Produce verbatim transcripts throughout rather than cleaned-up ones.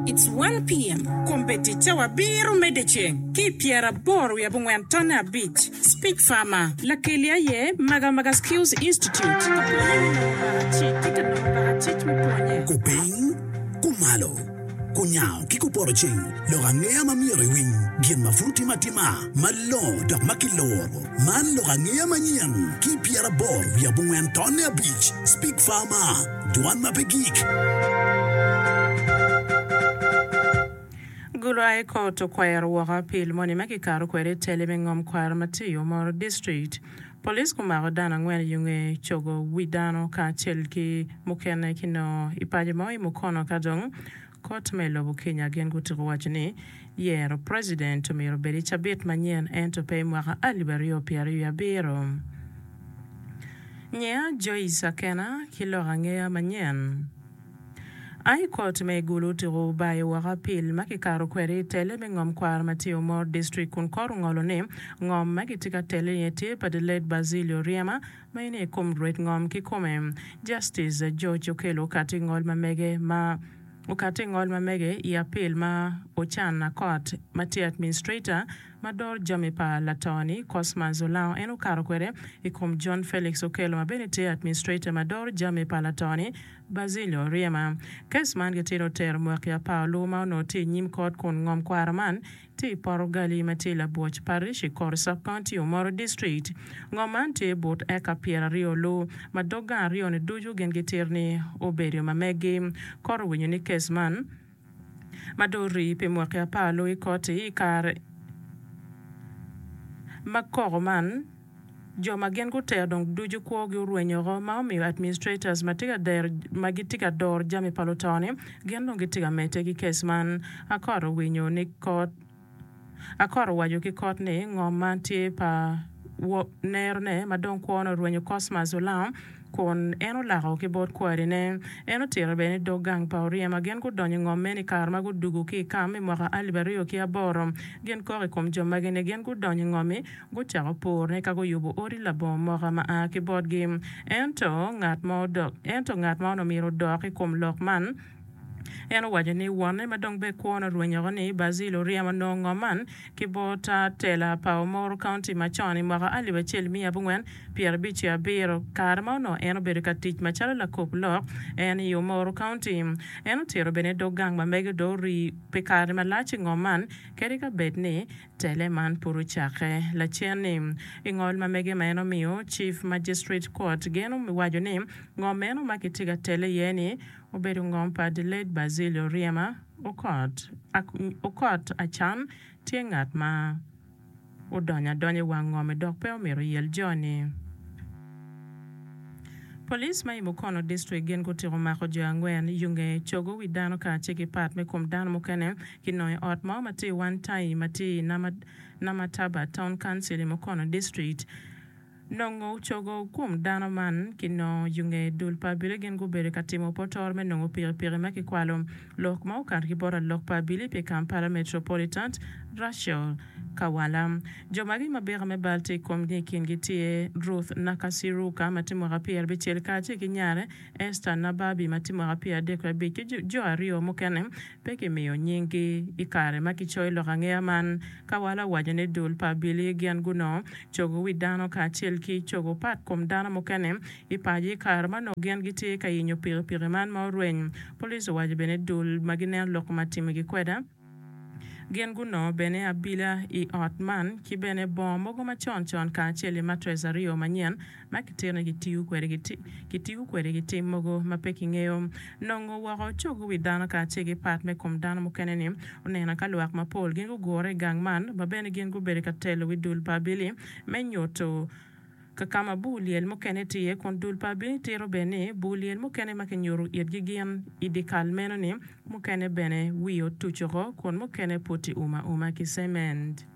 It's one P M. Kombeddi cawa abiro me dyeceng ki i pyeraboro wiye abongwen tonne abic. Speak Farmer lakeli aye Magamaga Skills Institute ka pwonye me nongo bakacic ki ka nongo bakacic me pwonye. Kupiny, kumalo, kunyango ki kupoto ceng, lok angeya ma myero iwiny, gin ma pud timo atima, malongo dok ma kiloro. Man lok angeya manyen ki pyeraboro wiye abongwen tonne abic. Speak Farmer, dwan ma pe gik. Gulu High Court okwero woko apil moni ma kikato kwede i tele me ngom kwaro ma tye i Omoro District. Police gumako dano angwen i yunge cogo wi dano kacel ki mukene kinongo i paco mo i Mukono ka dong kot me lobo Kenya gin gutiko waco ni yero president omyero obed i cabit manyen ento pe i mwaka alip aryo pyeraryo abiro. Nyea Joyce Akena ki lok angeya manyen. High Court me Gulu otiko bayo woko apil ma kikato kwede i tele me ngom kwaro ma tye i Omoro District kun kot ongolo ni ngom ma kitye ka tele iye tye pa the late Basilio Oryema ma en aye kom rwed ngom kikome. Justice George Okello okati ngol ma mege ma okati ngol ma mege i apil ma Ocan Akot ma tye administrator ma doro jami pa lato-ni Cosmas Olango en okato kwede i kom John Felix Okello ma bene tye administrator ma doro jami pa lato-ni Basilio Oryema. Kes man gitye otero mwaki apar olu ma onongo tye i nyim kot kun ngom kwaro man tye i poto gali ma tye i Labwoc Parish i kor Sub-County Omoro District. Ngom man tye but eka pyeraryo olu ma dog gang aryo-ni ducu gin gitito ni obedo ma meggi. Kot owinyo ni kes man ma dong orii pi mwaki apar olu i koti i kare ma koko man jo ma gin gutero dong ducu kwogi orwenyo oko ma omiyo administrators ma tye ka dero ma gitye ka doro jami pa luto-ni gin dong gitye ka medde ki kes man. Akot owinyo ni kot Akot owaco ki kot ni ngom man tye pa nerone ma dong kwone orwenyo Cosmas Olango kun en olako ki bot kwarine. En otito bene ni dog gang pa Oryema gin gudonyo i ngom meno i kare ma gudugo ki i kam i mwaka alip aryo ki aboro. Gin kok i kom jo magi ni gin gudonyo i ngom-mi gucako purone ka guyubo odi labongo moka ma a ki botgi. Ento ngat ma ento ngat ma onongo myero odok i kom lok man en owaco ni wonne ma dong be kwone orwenyo oko ni Basil oryemo nongo ngom man ki bot tela pa Omoro County macon i mwaka alip acel miya abongwen pyerabic ki abiro kare ma onongo en obedo ka tic macalo lakop lok en i Omoro County. En otito bene dog gang ma mege dong orii pi kare malac i ngom man kadi ka bed ni tele man pud ocakke lacen-ni. I ngol ma mege ma en omiyo, Chief Magistrate Court gin owaco ni ngom meno ma kitye ka tele iye-ni obedo ngom pa the late Basilio Oryema Okot. Okot Acan tye ngat ma odonyo adonya i wang ngom-mi dok pe omito yel jo-ni. Police ma i Mukono District gin gutiko mako jo angwen yunge cogo wi dano kacel ki pat me kom dano mukene kinongo i ot mo ma tye i Wantai ma tye i Namataba Town Council i Mukono District. Nongo cogo kom dano man kinongo yunge dul pa abili gin gubedo ka timo potoro me nongo pikipiki ma kikwalo. Lok ma okato ki bot alok pa abili pi Kampala Metropolitan, Rachel Kawala. Jo magi ma bika me bal tye i komgi i kingi tye Ruth Nakasiruka ma tye mwaka pyerabicel kacel ki nyare Esther Nababi ma tye mwaka pyeradek ki abic ki jo aryo mukene pe kimiyo nyinggi i kare ma kicoyo lok angeya man. Kawala owaco ni dul pa abili gin gunongo cogo wi dano kacel ki cogo pat kom dano mukene i paco i kare ma onongo gin gitye ka yenyo pikipiki man ma orweny. Police owaco bene dul ma gineno lok ma timogi kweda gin gunongo bene abila i ot man ki bene bongo mogo macon con kacel ki matress aryo manyen ma kitito ni kitiyo kwede ki tim mogo ma pe kingeyo. Nongo woko cogo wi dano kacel ki pat me kom dano mukene-ni oneno ka lwak mapol gin gugure i gang man ma bene gin gubedo ka telo wi dul pa abili me nyuto ka ka ma bur lyel mukene tye iye kun dul pa abili tito bene ni bur lyel mukene ma kinyuto itgi gin i dyekal meno-ni mukene bene wiye otuc oko kun mukene pud tye uma auma ki cement.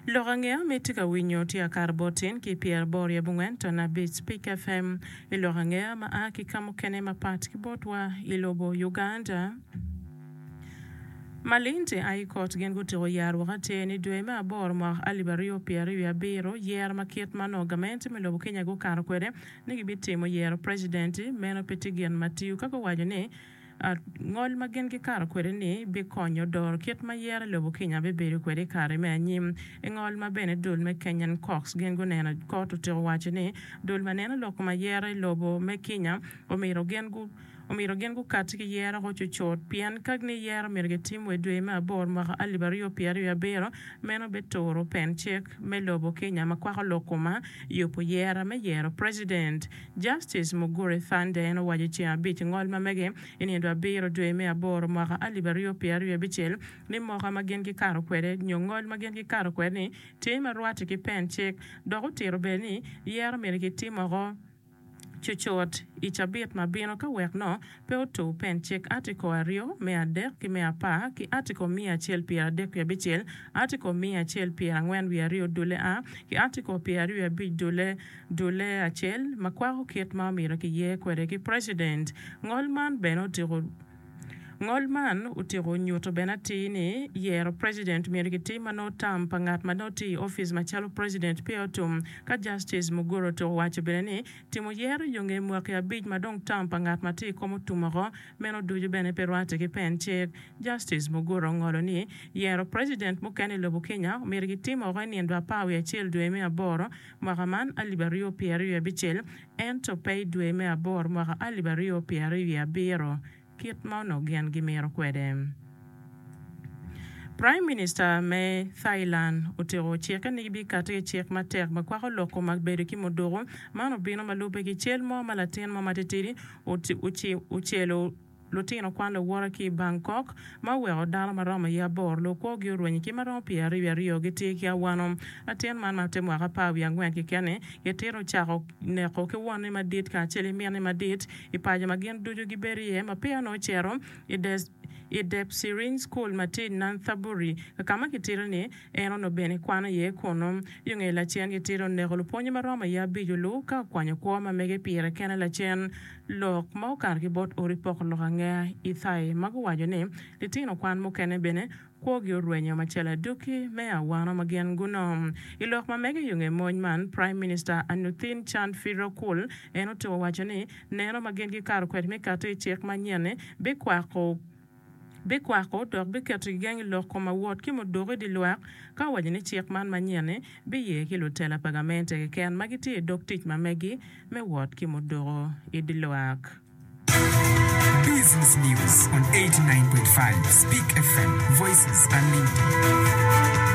Lok angeya ma itye ka winyo tye akato bot tin ki pyeraboro i abongwen ton abic Spik F M i lok angeya ma a ki ka mukene mapat ki botwa i lobo Uganda. Malindi High Court gin gutiko yaro woko atir ni dwe me aboro mwaka alip aryo pyeraryo wiye abiro yero ma kit ma onongo gamente me lobo Kenya gukato kwede ni gibitimo yero president meno pe tye gin ma tiyo ka guwaco ni Ngol ma gin gikato kwede-ni bikonyo doro kit ma yero i lobo Kenya bibedo kwede i kare me anyim. I ngol ma bene dul me Kenyan Cocks gin guneno, kot otyeko waco ni dul ma neno lok kom ayera i lobo me Kenya omyero gin omyero gin gukati ki yero oko cucut pien ka ni yero myero gitim wa i dwe me aboro mwaka alip aryo pyeraryo abiro meno bituro pen cik me lobo Kenya ma kwako lok koma yubo yera me yero President. Justice Mugure Thande en owaco i ceng abic ngol ma mege i nindo abiro dwe me aboro mwaka alip aryo pyeraryo abicel ni moka ma gin gikato kwede nyo ngol ma gin gikato kwede ni tye ma rwatte ki pen cik dok otito bene ni yero myero gitim oko cucut i cabit ma bino ka wek no pe otur pen cik Article aryo me adek ki me apar ki Article miya acel pyeradek wiye abicel, Article miya acel pyerangwen wiye aryo dule A ki Article pyeraryo wiye abic dule dule acel ma kwako kit ma omyero kiyer kwede ki President. Ngol man bene otiko Ngol man otyeko nyuto bene atir ni yero President myero kitim ma nongo tam pa ngat ma nongo tye i opic macalo President peya otum. Ka Justice Muguro otyeko waco bene ni timo yero yo nge mwaki abic ma dong tam pa ngat ma tye i kom otum oko, meno ducu bene pe rwatte ki pen cik. Justice Muguro ongolo ni yero President mukene i lobo Kenya myero kitim oko i nindo apar wiye acel dwe me aboro mwaka man alip aryo pyeraryo abicel ento pe i dwe me aboro mwaka alip aryo pyeraryo abiro. Kit ma onongo gin gimito kwede. Prime Minister me Thailand otyeko cikke ni gibikati ki cik matek ma kwako lok kom bedo ki muduku. Man obino ma lubbe ki cal mo ma latin mo matitidi ocelo lutino kwan luwote ki i Bangkok ma oweko dano ma romo iye aboro lukwogi orwenyo ki ma romo pyeraryo aryo gitye ki awano. Latin man ma tye mwaka apar wiye angwen keken-ni gitito ocako neko ki wonne madit kacel ki minne madit i paco ma gin ducu gibedo iye ma peya onongo ocito i Depsirin School ma tye i Nonthaburi ka ma kitito ni en onongo bene kwano iye kunnu. Yo nge lacen kitito oneko lupwonye ma romo iye abic olu ka okwanyo kwo ma mege pire kene lacen. Lok ma okato ki bot odi poko lok angeya i Thai ma guwaco ni litino kwan mukene bene kwogi orwenyo macalo aduki me awano ma gin gunongo. I lok ma mege yo nge mony man, Prime Minister Anutin Charnvirakul en otyeko waco ni neno ma gin gikato kwede me kato i cik manyen-ni bikwako bikwako dok biketo gigeng i lok kom awot ki muduku i dye lwak ka owaco ni cik man manyen-ni biye ki lutela pa gamente keken ma gitye i dog tic ma megi me wot ki muduku i dye lwak. Business News on eighty-nine point five Speak F M Voices Unlimited.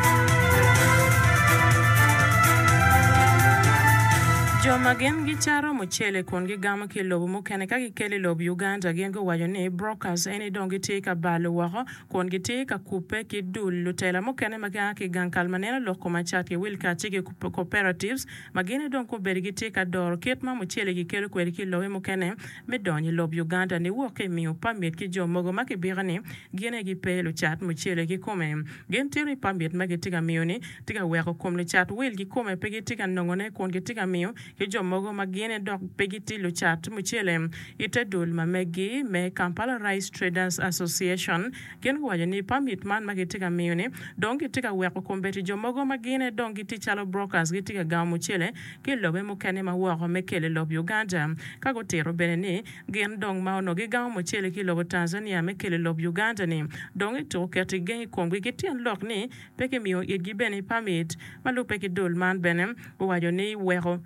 Jo ma gin gicato mucele kun gigamo ki i lobo mukene ka gikelo i lobo Uganda gin guwaco ni brokers eni dong gitye ka balo woko kun gitye ka kubbe ki dul lutela mukene ma gia ki i gang kal ma neno lok kom acat ki wil kacel ki cooperatives ma gin dong gubedo gitye ka doro kit ma mucele gikelo kwede ki i lobe mukene me donyo i lob Uganda niwok ki i miyo pamit ki jo mogo ma kibiko ni gin aye gipe lucat mucele kikome. Gin tito ni pamit ma gitye ka miyo-ni tye ka weko kom lucat wil kikome pe gitye ka nongone kun gitye ka miyo ki jo mogo ma gin dok pe gitye lucat mucele i te dul ma megi me Kampala Rice Traders Association. Gin guwaco ni pamit man ma gitye ka miyo-ni dong gitye ka weko kombeddi jo mogo ma gin dong gitye calo brokers gitye ka gamo mucele ki i lobe mukene ma woko me kelo i lob Uganda. Ka gutito bene ni gin dong ma onongo gigamo mucele ki i lobo Tanzania me kelo i lob Uganda-ni dong ituko keto gigeng i komgi ki tyen lok ni pe kimiyo itgi bene pamit. Ma lubbe ki dul man bene owaco ni weko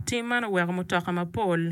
tim man oweko mutoka mapol